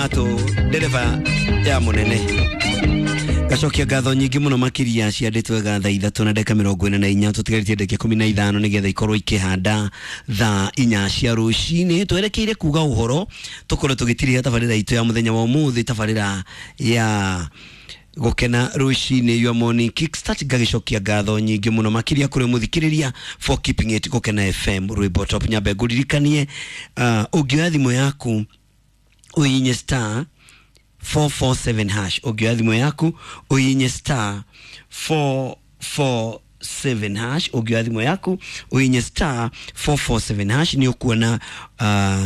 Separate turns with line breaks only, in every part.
Kiratũ, ndereba ya mũnene. Gacokia ngatho nyingĩ mũno makĩria ciandĩtwo wega thaa 3 na ndagĩka 44, tũtigarĩtie ndagĩka 15 nĩgetha ikorwo ikĩhanda thaa 4 cia rũcinĩ. Twerekeire kuga ũhoro tũkorwo tũgĩtirĩha tabarĩra itũ ya mũthenya wa ũmũthĩ, tabarĩra ya gukena rũcinĩ, your morning kickstart. Ngagĩcokia ngatho nyingĩ mũno makĩria kũrĩ mũthikĩrĩria for keeping it Gũkena FM rwĩmbo top. Nyambe ngũririkanie, ũngĩoya thimũ yaku ũhihinye star 447 hash, ũngĩoya thimũ yaku ũhihinye star 447 hash, ũngĩoya thimũ yaku ũhihinye star 447 hash, nĩ ũkuona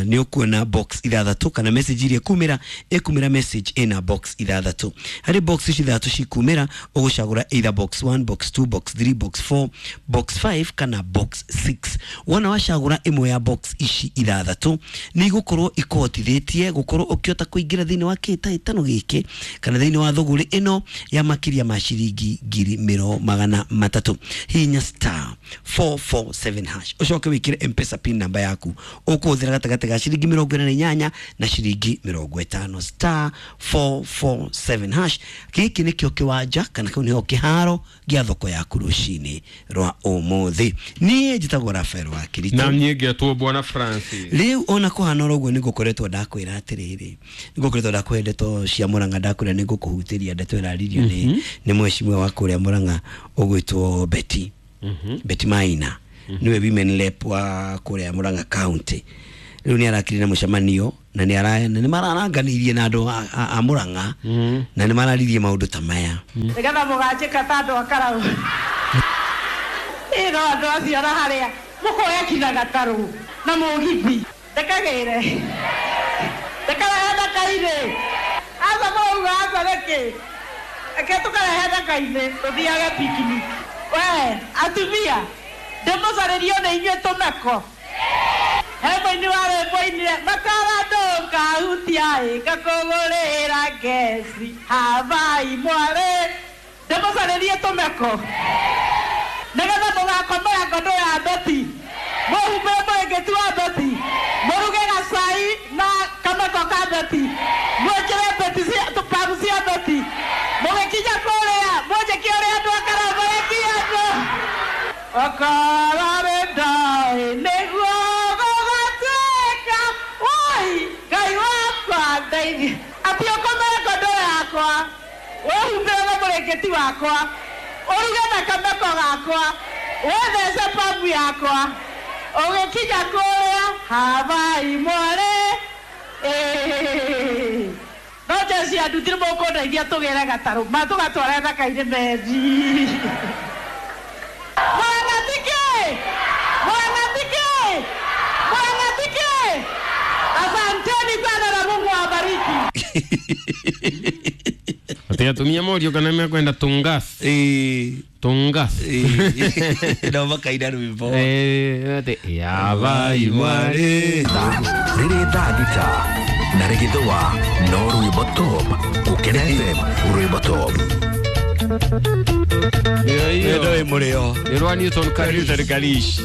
nĩ ũkuona box 6 kana message iria ĩkumĩra, ĩkumĩra message ĩna box 6. Harĩ box ici 6 cikumĩra, ũgũcagũra either box 1, box 2, box 3, box 4, box 5 kana box 6. Wona wacagũra ĩmwe ya box ici 6, nĩ igũkorwo ikũhotithĩtie gũkorwo ũkĩhota kũingĩra thĩinĩ wa kĩhĩtahĩtano gĩkĩ kana thĩinĩ wa thũgũrĩ ĩno ya makĩria ma ciringi 300,000. Hihinya star 447 hash, ũcoke wĩkĩre Mpesa pin namba yaku ũkũhũthĩra gatagatĩ ga ciringi 48 na ciringi 50, star 447 hash. Gĩkĩ nĩkĩo kĩwanja kana kĩu nĩho kĩharo gĩa thoko yaku rũcinĩ rwa ũmũthĩ. Niĩ njĩtagwo Rafael wa Kirito.
Na niĩ ngetwo Bwana Francis.
Rĩu ona kũhana oro ũguo, nĩngũkoretwo ndakwĩra atĩrĩrĩ, nĩngũkoretwo ndakũhe ndeto cia Mũrang'a, ndakwĩra nĩngũkũhutĩria ndeto ĩraririo nĩ mheshimiwa wa kũrĩa Mũrang'a ũgwĩtwo Betty, Betty Maina, nĩwe women rep wa kũrĩa Mũrang'a County. Rĩu nĩ arakire na mũcemanio na nĩ ara na nĩ mararanganirie na andũ a Mũrang'a na nĩ mararirie maũndũ ta maya.
Nĩgetha mũganjĩka ta andũ a Karau ĩ, no andũ acio na harĩa mũkoya kinya gatarũ na mũgithi ndekagĩre ndekarehe ndaka-inĩ. Aca mũrauga aca nĩkĩ? Reke tũkarehe ndaka-inĩ tũthiage picnic. We atumia, ndĩmũcarĩrio nĩ inyuĩ tũmeko. He mũini wa rwĩmbo ainire makara ndũkahutia ĩ ngakũgũrĩra ngeci habai mwarĩ. Ndĩmũcarĩrie tũmeko nĩgetha mũgakomera ngondo ya Beti, mũhumbĩre mũrĩngĩti wa Beti, mũruge gacai na kameko ka Beti, mwĩkĩre Beti cia tũparu cia Beti, mũgĩkinya kũrĩa mũnjĩke ũrĩa andũ a Karau marekia andũ okorwo nĩ ndoĩ nĩguo gũgatuĩka. Woi Ngai wakwa ndeithia, atĩ ũkomere ngondo yakwa, wĩhumbĩre na mũrĩngĩti wakwa, ũruge na kameko gakwa, wĩthece pambu yakwa, ũgĩkinya kũrĩa habai mwarĩ. Ĩĩ. No jeshi ya nduthi nĩ mũkũndeithia tũgĩre gatarũ ma tũgatware thaka-inĩ methi. Mwangatike, mwangatike, mwangatike, asanteni sana na Mungu awabariki.
Ati atumia morio kana mekwenda tungas.
Ĩĩ.
Tungas.
Ĩĩ, no makaina rwĩmbo.
Eh, ati yabai mwarĩ.
Rĩrĩ thaa 6 na rĩgĩthũa no rwĩmbo top Gũkena FM rwĩmbo top.
Ĩyo
Ĩyo
ĩyo.
ĩ mũrĩo.
Nĩ rwa Newton Karish.
Newton Karish.